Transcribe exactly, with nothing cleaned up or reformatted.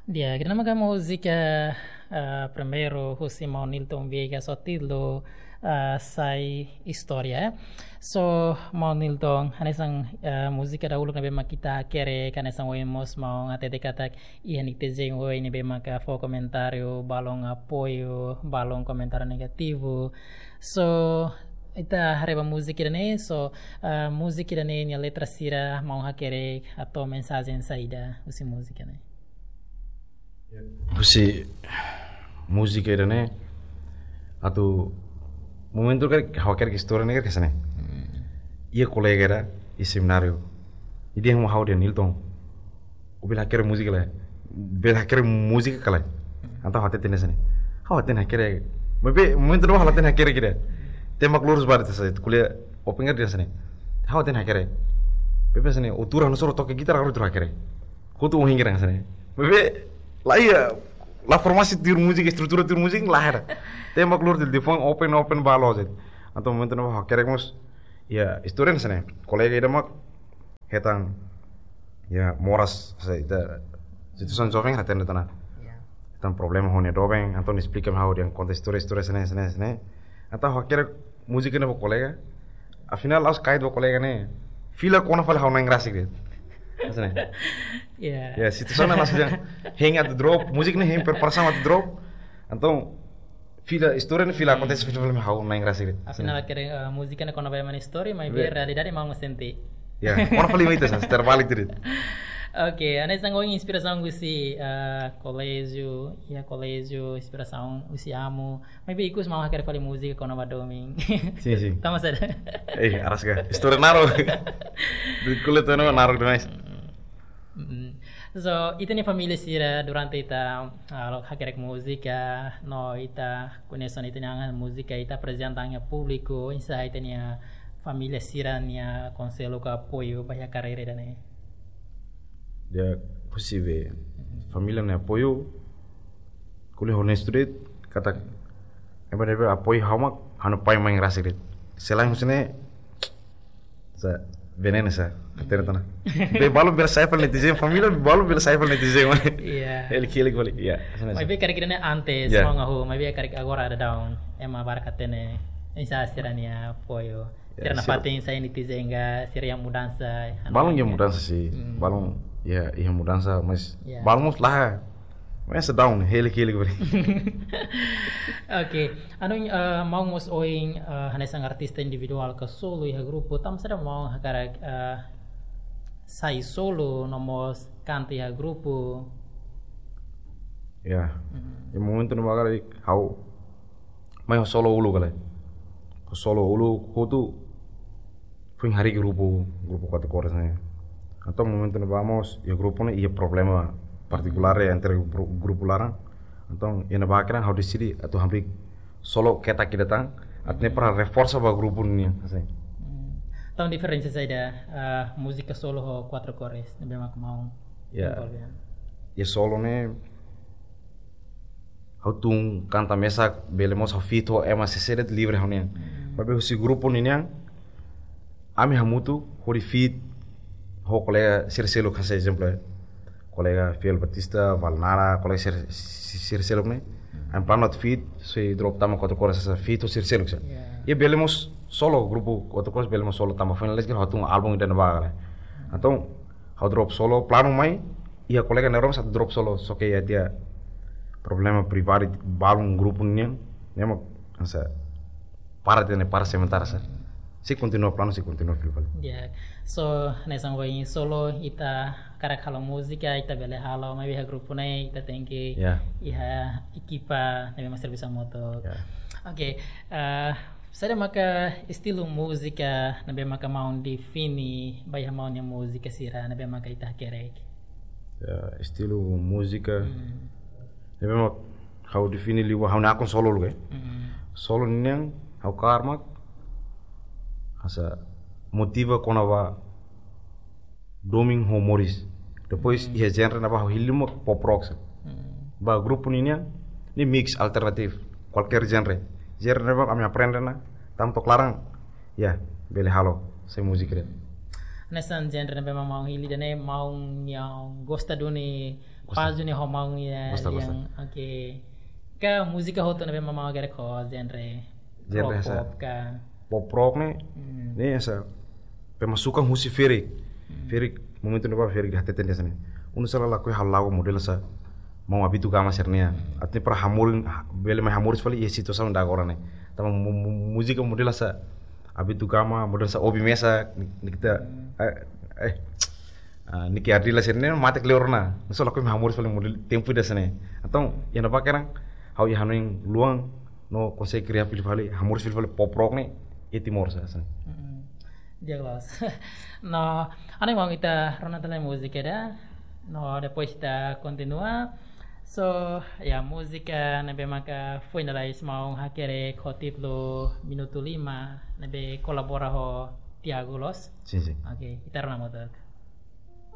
Di'ak, ida-ne'e maka múzika, ah, primeiru husi Maun Nilton Viegas ho títulu, ah, Sai Istória. So, Maun Nilton, hanesan, ah, múzika dahuluk ne'ebé mak ita hakerek, hanesan ohin mós maun hatete katak iha netizen ohin ne'ebé maka fó komentáriu, balun apoiu, balun komentáriu negativu. So, ita haree ba múzika ida-ne'e, so, ah, múzika ida-ne'e nia letra sira maun hakerek hato'o mensajen saida husi múzika ne'e? Husi múzika ida-ne'e, atu momentu karik ha'u hakerek istória ne'e karik hanesan ne'e. Iha kolega ida iha semináriu. Nia dehan ha'u dehan Nilton, ó bele hakerek múzika lae? Bele hakerek múzika ka lae? Entaun ha'u hatete hanesan ne'e. Ha'u hatene hakerek. Maibé momentu ne'ebá ha'u la hatene hakerek ida. Tembak lurus ba de'it, sá, ko'alia open karik dehan hanesan ne'e. Ha'u hatene hakerek. Maibé hanesan ne'e, ó tuur ha'u-nia soru, toka gitara ha'u tuur hakerek. Kotu ohin kira hanesan ne'e. Maibé la iha, la forma sira tuur múzika, estrutura tuur múzika la iha. Tembak lurus de'it, telefone open, open ba loos de'it. Entaun momentu ne'ebá hakerek mós, iha istória hanesan ne'e. Kolega ida mak hetan, iha moras, sá, ita situasaun joven hatene tiha ona. Ya. Hetan problema ho nia doben, entaun esplika mai ha'u dehan konta istória, istória hanesan ne'e, hanesan ne'e, hanesan ne'e. Entaun ha'u hakerek múzika ne'e ba kolega. Afinál, la'ós kait ba kolega ne'e. Fila kona fali ha'u-nia na'in rasik de'it. Hanesan ne'e. Ya. Ya, situasaun ne'e la'ós dehan hein atu drop, múzika ne'e hein preparasaun atu drop. Entaun, fila, istória ne'e fila akontese fila fali mai ha'u-nia na'in rasik de'it. Afinál, hakerek, eh, múzika ne'e kona-ba ema nia istória, maibé realidade maun sente. Ya, kona fali mai ita, sá, terbalik de'it. Oke, hanesan ohin inspirasaun husi, eh, koléjiu, iha koléjiu, inspirasaun husi amu. Maibé ikus maun hakerek fali múzika kona-ba domin. Sin, sin. Tama saida. Eh, araska. Istória naruk. De'it ko'alia tiha ona naruk demais. Mm. So, ita-nia família sira durante ita, ah, hakerek múzika, no ita koñese ita-nia múzika, ita aprezenta iha públiku, oinsá ita-nia família sira-nia konsellu ka apoiu ba iha karreira ida-ne'e? Ya, posible. Família nia apoiu, ko'alia honestu de'it, katak, ema ne'ebé apoiu ha'u mak, ha'u-nia pai mãe rasik de'it. Selain husi ne'e, sá, venenu sá, hatene tiha ona. Be balun bele sai fali netizen, família be balun bele sai fali netizen, mane. Iya. Elik, elik fali, iya. Hanesan ne'e. Maibé karik ida-ne'e antes, ya, maun hahú, maibé karik agora daudaun, ema barak hatene, oinsá sira-nia apoiu. Ya, sira nafatin sai netizen ka, sira iha mudansa, balun iha mudansa sih, balun, ya, iha mudansa, mas, ya, balun mós la, mas sedang, elik, elik fali. Oke, anu, eh, maun mós ohin, eh, hanesan artista individuál ka solo iha grupu, tanba saida maun hakarak, eh, sai solo no mós kanta iha grupu? Ya, iha momentu ne'ebá karik ha'u mai ho solo uluk ka lae. Ho solo uluk hotu foin harii grupu, grupu Quatro Cores ne'e. Entaun momentu ne'ebá mós iha grupu ne'e iha problema partikulár entre gru-, grupu laran. Entaun iha ne'ebá karik ha'u deside atu hamriik solo ketak ida tan, atu nune'e para reforsa ba grupu nian, hanesan ne'e. Hmm. Entaun diferensa saida, eh, múzika solo ho Quatro Cores, ne'ebé mak maun, ya, envolve? Ya, solo ne'e ha'u tun kanta mesak, bele mós ha'u feat ho ema sira seluk livre ha'u-nian. Hmm. Maibé husi grupu ninian, ami hamutuk hodi feat ho kolega sira seluk, hanesan ezemplu, kolega Fiel Batista, Valnara, kolega sira, si-, sira seluk ne'e. Hmm. Ami planu atu feat, sei drop tama Quatro Cores, hanesan feat ho sira seluk sá. Ya. Ya bele mós solo, grupu Quatro Cores bele mós solo tama, foin la'ós karik ha'u tun álbum ida-ne'ebá ka lae. Entaun, ha'u drop solo, planu mai, iha kolega ne'e roma atu drop solo, só ke iha tiha problema privadu balun grupu nian, ne'e mak, hanesan, para tiha ona, para sementara sá. Sei kontinua planu, sei kontinua fila fali. Ya, so, hanesan ohin solo ita hakarak halo múzika, ita bele halo, maibé iha grupu ne'e, ita tenke, ya, iha ekipa, ne'ebé mak servisu hamutuk. Ya. Oke, eh, saida maka estilu múzika ne'ebé maka maun define ba iha maun nia múzika sira ne'ebé maka ita hakerek? Ya, estilu múzika, hmm, ne'ebé mak ha'u define liu ba ha'u-nia akun solo uluk, eh. Hmm. Solo nian ha'u kaer mak hanesan motiva kona-ba domin ho moris. Depois, hmm, iha genre ne'ebá ha'u hili mak pop rock sá. Hmm. Ba grupu ninian, ne'e mix alternatif, kualkér genre. Genre ne'ebé mak ami aprende ona, tanba to'o klaran, ya, bele halo, sai múzika de'it. Hanesan genre ne'ebé mak maun hili ida-ne'e, maun yang gosta duni, Gosta. Paz duni ho maun ya Gosta, gosta. Yang, oke. Ka múzika hotu ne'ebé mak maun hakerek ho genre Genre rock, sa- pop ka. Pop rock ne'e, Hmm. ne'e sa pemasukan husi ferik. Ferik, momentu ne'ebá ferik hateten hanesan ne'e. Oinsá ela lakohi halo lagu model sa maun Abito Gama sira-ne'e. Atu nune'e para hamoris, bele mai hamoris fali iha situasaun ida agora ne'e. Tanba mu-, mu-, múzika model sa Abito Gama, model sa obi mesa, ni, ni kita, eh, eh, ah, Niki Ardila sira-ne'e mate kleur ona. Oinsá lakohi mai hamoris fali model tempu ida hanesan ne'e. Entaun, iha ne'ebá kedan, ha'u iha hanoin luan, no konsege kria fali fali, hamoris fali fali pop rock ne'e, iha Timor sa hanesan ne'e. Mm-mm. Di'ak loos. No, ha'u hanoin maun ita rona tiha ona múzika ida. No, depois ita kontinua. So, ya, múzika ne'ebé maka foin lalais maun hakerek ho títulu Minutu Lima, ne'ebé kolabora ho Tiago loos. Sin, sin. Oke, ita rona hamutuk.